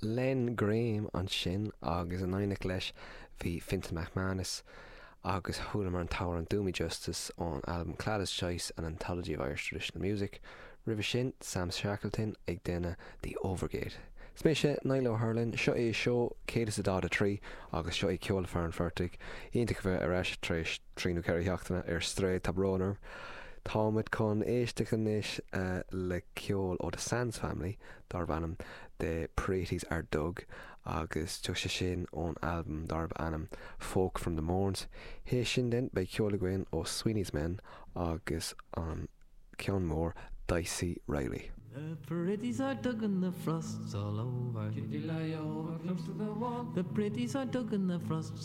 Len Graham ansin agus in éineacht leis bhí Fintan McManus agus chualamar an t-amhrán Do Me Justice ón albam Cladagh's Choice, An Anthology of Irish Traditional Music. Roimhe sin, Sam Shackleton ag déanamh The Overgate. Is mise Niall Ó hUrlain, seo é seó 143 agus seo é Ceol Fear an Phortaigh. Iontach a bheith ar ais tar éis trí nó ceithre sheachtaine ar strae, tá brón orm. Táimid chun éisteacht anois le ceol ó The Sands Family darb ainm The Praties Are Dug agus tiocfaidh sé sin ón albam darb ainm Folk from the Mournes. Théis sin then beidh ceol againn ó Sweeney's Men agus an ceann mór Dicey Reilly. The pretties are dug and the frost's all over. The pretties are dug and the frost's